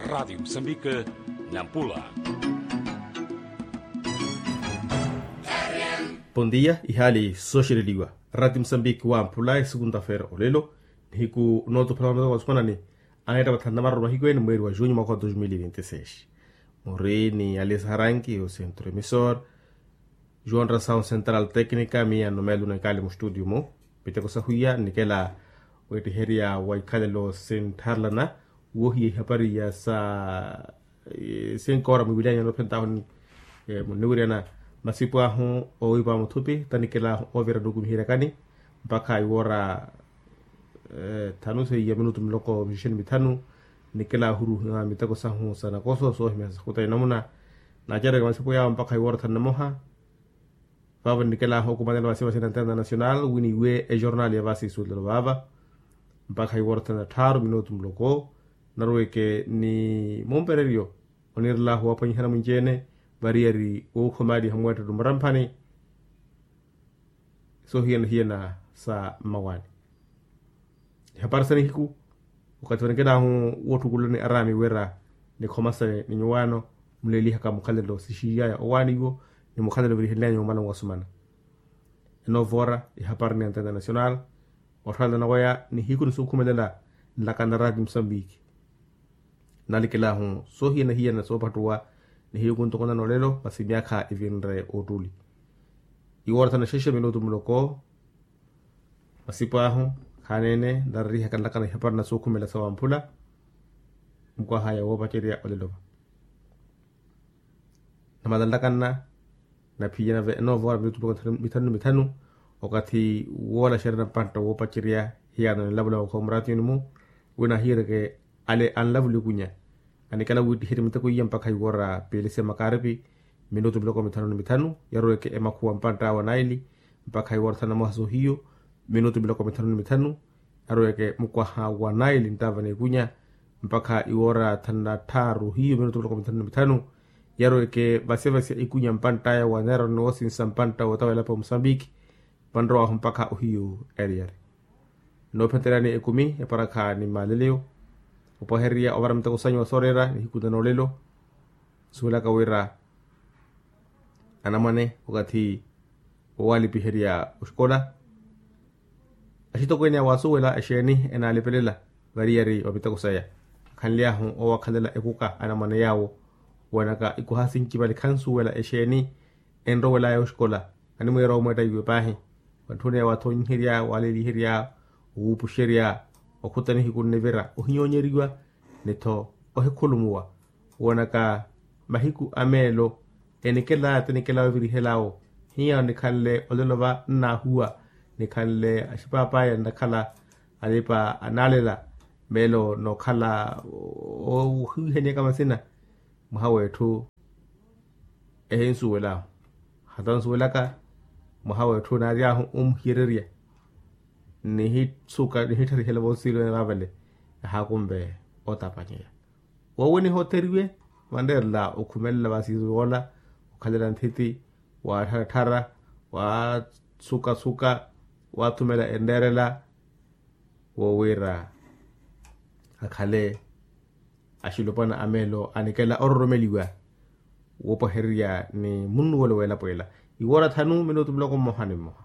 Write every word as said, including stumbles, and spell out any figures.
Ratio musambike, nampula. Pondiya. Ihaali sooxereliwa. Ratio musambike wampula esukunta feera olelo, nihiku nootuphala wa mutoko wa sumanani, aneetta mathanu na mararu mahiku ene mweeri wa junyu mwaka wa dos mil e vinti seis. Muri ni alisaharanki o centro emissor, joão rasaun central técnica miya numelo na ikaali mustudio mu. Miteko sahuya nikela weettiherya wa ikhalelo sinttharalana, woohiya ihapari ya sa sinkoora mwiwilyanyo noophentahu. Munniwiryana masipu ahu oowipa muthupi tanikelaahu oovira nnukumiheryakani mpakha iwoora thanu seiya minutu miloko mixixeni mithanu. Nikelaahu oruha miteko sahu sa nakoso soohimya sakhutaya namuna. Nacereke masipu yaawo mpakha iwoora thanu na moha. Vaavo nikelaahu okumanela masiva sina international wini iwe ejornal ya vasi isulelo vaava mpakha iwoora thanu na tthaaru minutu muloko. Narweke ni mumpereryo oniirelaahu waaphwanyihana mwinci-ene variyari wookhomaaliha mweettettu muramphani. Soohiyana-hiyana sa mmawaani. Ihapari sa nihiku okathi vanikelaahu woottukulani araami wira nikhomasane ni nyuwaano muleelihaka mukhalelo sixiiyaya owaani iwo ni mukhalelo virihelyanyu omala nwasumana. Enovoora ihapari ni antenna nacional otthalana waya nihiku ni sookhumelela nlakana rati musambiki. Nalikelaahu soohiyana-hiyana soopattuwa nihiku ntokonana olelo masi myaakha ivinre ottuli. Iwoora thanu na xexe minutu muloko. Masipu ahu khaneene nlarerihaka nlakana ihapari na sookhumela sa wamphula. Mukwaha ya woopacerya olelo va namalanlakanna naphiyana ve enoovora minutu mithanu ni mithanu. Okathi woolaxerya na mpantta woopacerya hiyaano ninlavula mukhowa muratiyuni-mu. Wina ahiireke ale anlavula ikunya anikela wiittiherye miteko iya mpakha iwoora piili se makaripi. Minutu miloko mithanu ni mithanu yaroweke emakhuwa mpantta awe anaili mpakha iwoora thanu na moha soohiyu. Minutu miloko mithanu ni mithanu yaroweke mukwaha wa naili nttava n'ikunya mpakha iwoora thanu na tthaaru hiyo minutu miloko mithanu ni mithanu. Yaroweke vasevasya ikunya mpantt'aya wa neero ni woosinsa mpantta wootawa elapo ya musambiki. Vanrowaahu mpakha ohiyo eriyari noophenteryani ekumi eparakha ni maaleleyo. Opwahererya ovara miteko sanyu wa sooreera nihiku na noolelo nsuwelaka wira anamwane okathi woowalipiherya oxikola. Axitokweene awo asuwela exeeni enaalipelela variyari va miteko saya. Akhanly'ahu oowakhalela ekuka anamwane yaawo woonaka ikuha sinci vale khansuwela exeeni enrowel'aya oxikola. Animwiira omweetta iwe paahi. Vantthuneya wathonyiherya waaleliherya owuupuxerya okhuta nihiku nnivira ohinyoonyeriwa ni-tho ohikhulumuwa. Woonaka mahiku a meelo enikela ti nikela ovirihel'awo hiya nikhanle olelo va nnaahuwa nikhanle axipaapaaya nnakhala alipa anaalela meelo nookhala ohiwihaniyaka masina. Mwaha w'etthu ehinsuwel'ahu hata nsuwelaka mwaha w'etthu naary'ahu omuhiyererya nihittharihelavo nsiilo ene vaavale. Ehaakumve otapanyeya woowe nihootheriwe vanreerela okhumelela vasiizo yoola okhalela nthiti waattharattharra waatsukatsuka waathumela enreerela woowiira akhale axilopwana a meelo anikela ororomeliwa woopwahererya ni munnuwelo w'elapo ela. Iwoora thanu minutu muloko mmoha ni mmoha